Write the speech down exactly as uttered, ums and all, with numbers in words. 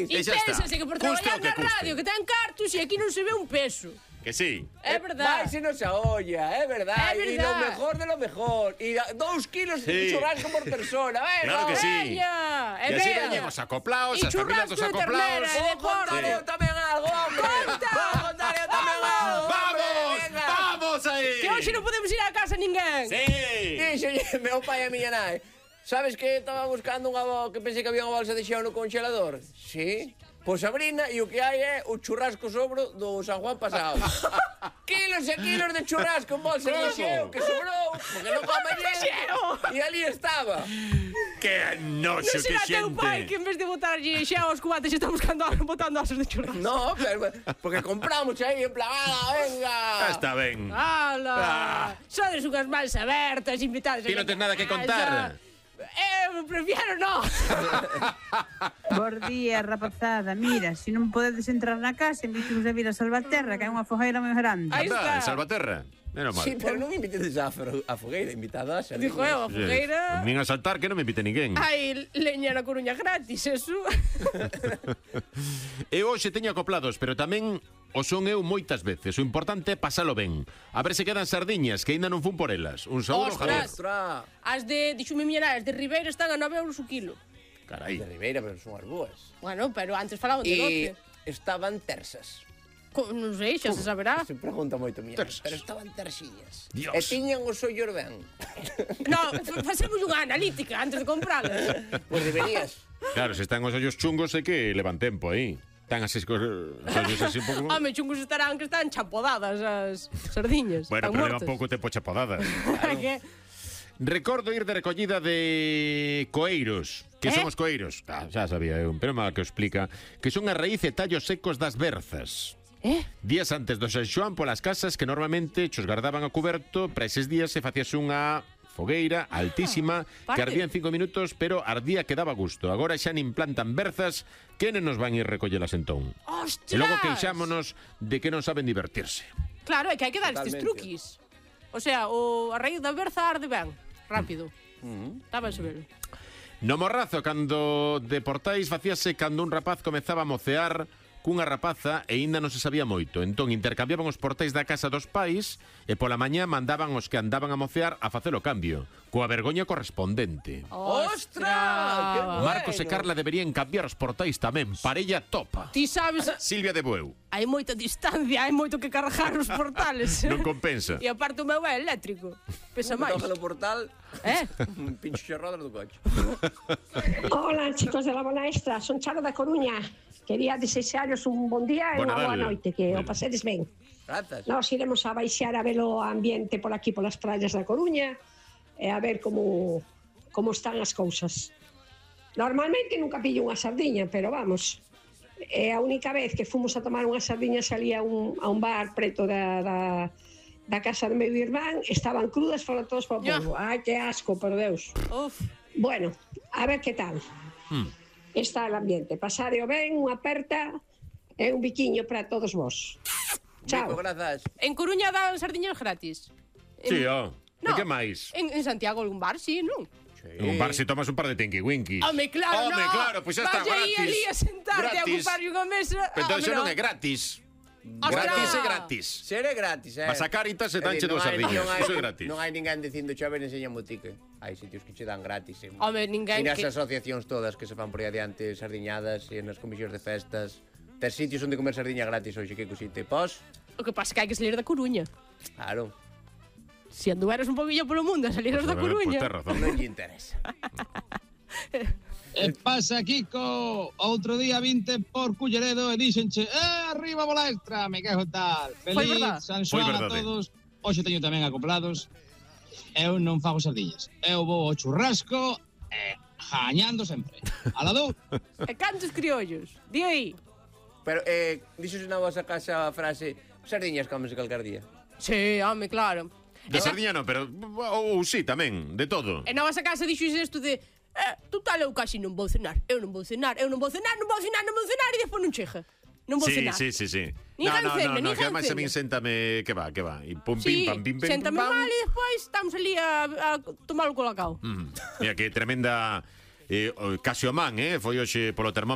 país. E pénsase que por traballar na radio, que ten cartos, e aquí non se ve un peso. Que sí. É verdade. Vai se nos a olla, é verdade. É E lo verdade. mejor de lo mejor. E dous kilos Sí. de churrasco por persona. Venga, Claro que sí. Veña, E é así veña. veñemos acoplaos, E as familias dos churrasco de acoplaos. ternera, Vou contar eu tamén algo, hombre. Conta. Vou contar eu tamén algo. Vamos, Venga. vamos aí. Que hoxe non podemos ir á casa ninguén. Sí. Díxolle meu pai e a miña nai. Sabes que estaba buscando unha bo... que pensei que había unha bolsa de xeo no congelador? Sí. Pois abrina e o que hai é o churrasco sobro do San Juan pasado. Kilos e kilos de churrasco en bolsa de xeo que sobrou, porque non come xeo. E ali estaba. Que noxo, Non que será teu pai que xente. en vez de botarlle xa aos cubates está buscando botando asas de churrasco. No, pero, porque compramos aí en plan, ah, venga. Ah, está ben. ¡Hala! Ah. Sodes unhas mans abertas, invitados. Ti non tes nada que contar. Eu prefiero no. Bos días, rapazada. Mira, se non podedes entrar na casa, invítanos a vir a Salvaterra, que é unha fogueira moi grande. Aí Anda, está. en Salvaterra. Menos mal. Sí, pero non invitedes a, fro- a fogueira, invitadas a Dijo eu, a Sí. fogueira. Nin a saltar que non me invite ninguén. Hai leña na Coruña gratis, eso. Eu hoxe teño acoplados, pero tamén o son eu moitas veces. O importante é pasalo ben. A ver se quedan sardiñas, que aínda non fun por elas. Un saúdo, Javier. Ostras. As de, dixome miña nai, as de Ribeira están a nove euros o kilo. Carai. De Ribeira, pero son as boas. Bueno, pero antes falaban de E doce. estaban tersas. Co- Non sei, xa se saberá. Se pregunta moito miña, Tersas. pero estaban terxiñas. Dios. E tiñan os ollos ben. No, fa- facemos unha analítica antes de compralas. Pois deberías. Claro, se están os ollos chungos é que levan tempo aí. Están así cos os ollos así un pouco... Home, chungos estarán que están chapodadas as sardiñas. Bueno, están pero levan mortas. pouco tempo chapodadas. Que- Recordo ir de recollida de coeiros. Que Eh? son os coeiros? Ah, xa sabía eu, pero mal que o explica. Que son a raíz e tallos secos das berzas. Eh? Días antes do San Xoán polas casas que normalmente chos guardaban a cuberto, para eses días se facíase unha fogueira altísima que parte. ardía en cinco minutos, pero ardía que daba gusto. Agora xa nin plantan berzas, que non nos van ir recollelas entón. Ostras! E logo queixámonos de que non saben divertirse. Claro, é que hai que dar estes Totalmente. truquis. O sea, o a raíz da berza arde ben, rápido. Está ben saberlo. No Morrazo, cando de Portais facíase cando un rapaz comezaba a mocear cunha rapaza e aínda non se sabía moito. Entón intercambiaban os portais da casa dos pais e pola mañá mandaban os que andaban a mocear a facer o cambio, coa vergoña correspondente. Ostras, que bueno. Marcos e Carla deberían cambiar os portais tamén, parella topa. Ti sabes, Silvia de Bueu. hai moita distancia, hai moito que cargar os portales. Non compensa. E aparte o meu é eléctrico. Pesa máis. Toca no portal, Eh? un pincho rodas do coche. Hola, chicos de la Bola Extra, son Charo da Coruña. Quería desearos un bon día e Bona unha boa tarde. noite, que o pasedes ben. Grazas. Nós iremos a baixar a ver o ambiente por aquí, polas praias da Coruña, e a ver como, como están as cousas. Normalmente nunca pillo unha sardiña, pero vamos, é a única vez que fomos a tomar unhas sardiñas ali a un, a un bar preto da, da, da casa do meu irmán, estaban crudas, foron todos para o Ya. polvo. Ai, que asco, por Deus. Uf. Bueno, a ver que tal. Hmm. Está el ambiente. Pasareo ben, unha aperta e un biquiño para todos vos. Chao. Mico, grazas. En Coruña dan sardiñas gratis. En- Sí, ó. E No. que máis? En, en Santiago algún bar, sí, non? En un bar se tomas un par de tinky-winkies. Home, claro, Home, no. claro, pois xa está, Vas aí gratis. ali a sentarte a Gratis. ocupar unha mesa. Pero entón Home, xa non no. é gratis. Ostras. Gratis é gratis. Ser é gratis, eh. Vas a Cáritas e danche É dicir, dúas non hai- sardiñas. non hai- Iso é gratis. Non hai ninguén dicindo xa ven enseña motique. Hai sitios que che dan gratis. Eh. Home, ninguén E nas que- asociacións todas que se fan por aí adiante sardiñadas e nas comisións de festas. Ter sitios onde comer sardiña gratis hoxe, que cosite. Pos? O que pasa é que hai que salir da Coruña. Claro, Se anduveras un poquillo polo mundo a salieras da Pois Coruña. tes razón. non lle interesa. E pasa, Kiko? Outro día vinte por Culleredo e dixenche eh, arriba Bola Extra, me quejo tal. Foi Feliz verdad. San Foi Xoán a verdade. todos. Hoxe teño tamén acoplados. Eu non fago sardiñas. Eu vou ao churrasco e jañando sempre. Alado. E cantos criollos? Di aí. Pero, eh, dixos na vosa casa a frase sardiñas comes calcar día. Sí, home, claro. De E na- sardiña non, pero ou sí, tamén, de todo. E na vosa casa dixo isto de eh, total, eu casi non vou cenar. Eu non vou cenar, eu non vou cenar, non vou cenar, non vou cenar e despois non chega. Non vou Sí, cenar. sí, sí, sí. Nin No, no, cena, no, no, nin que ademais a min cena. séntame que va, que va. E pum, Sí, pim, pam, pim, pim, séntame pam. mal e despois estamos ali a, a tomar o colacao. Mm. Mira, que tremenda eh, o- casi o man, eh? Foi hoxe polo termómetro